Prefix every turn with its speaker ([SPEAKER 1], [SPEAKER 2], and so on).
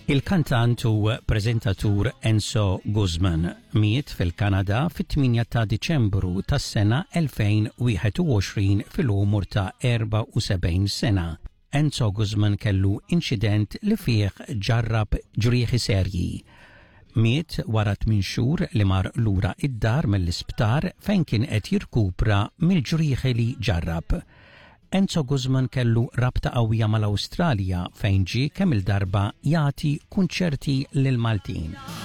[SPEAKER 1] Il-kantant u preżentatur Enzo Guzman miet fil-Kanada fit-8 ta' Diċembru tas-sena 2021 fil-umur ta' 74 sena. Enzo Guzman kellu inċident li fih ġarrab ġrieħi serji. Miet wara 8 xhur li mar lura id-dar mill-isptar fejn kien qed jirkupra mill-ġrieħi li ġarrab. Enzo Guzman kellu rabta qawwija mal-Awstralja fejn ġie kemm il-darba jagħti kunċerti lil Maltin.